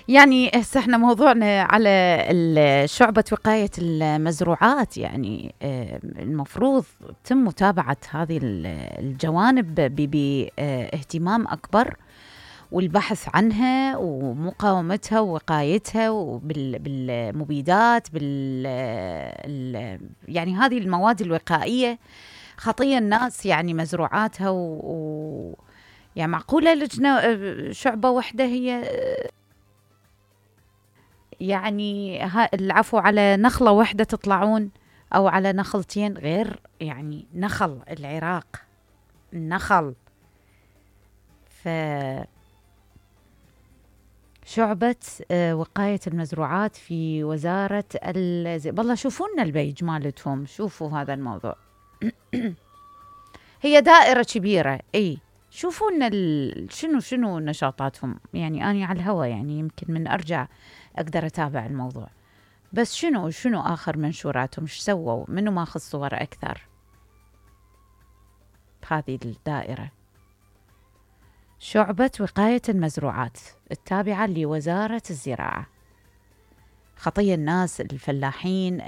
يعني هسه احنا موضوعنا على شعبة وقاية المزروعات، يعني المفروض تم متابعة هذه الجوانب باهتمام أكبر، والبحث عنها ومقاومتها ووقايتها بالمبيدات يعني هذه المواد الوقائية خطية الناس، يعني مزروعاتها يعني معقولة لجنة شعبة واحدة هي يعني العفو على نخلة واحدة تطلعون أو على نخلتين، غير يعني نخل العراق النخل. شعبة وقاية المزروعات في وزارة والله شوفوا لنا البيج مالتهم، شوفوا هذا الموضوع. هي دائرة كبيرة، اي شوفوا لنا شنو نشاطاتهم، يعني أنا على الهوا يعني يمكن من أرجع أقدر أتابع الموضوع، بس شنو آخر منشوراتهم، ايش سووا، منو ماخذ صور أكثر بهذه الدائرة. شعبة وقاية المزروعات التابعة لوزارة الزراعة، خطية الناس الفلاحين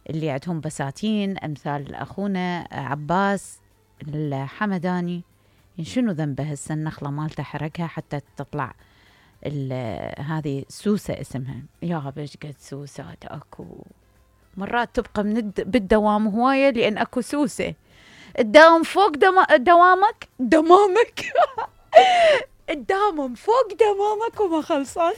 اللي عندهم بساتين أمثال أخونا عباس الحمداني، شنو ذنبه هسه النخلة مالته حرقها حتى تطلع هذه سوسة اسمها، يا بش قد سوسات اكو مرات تبقى بالدوام هواية لأن اكو سوسة الداوم فوق دوامك دمامك الدامم فوق دمامك وما خلصان.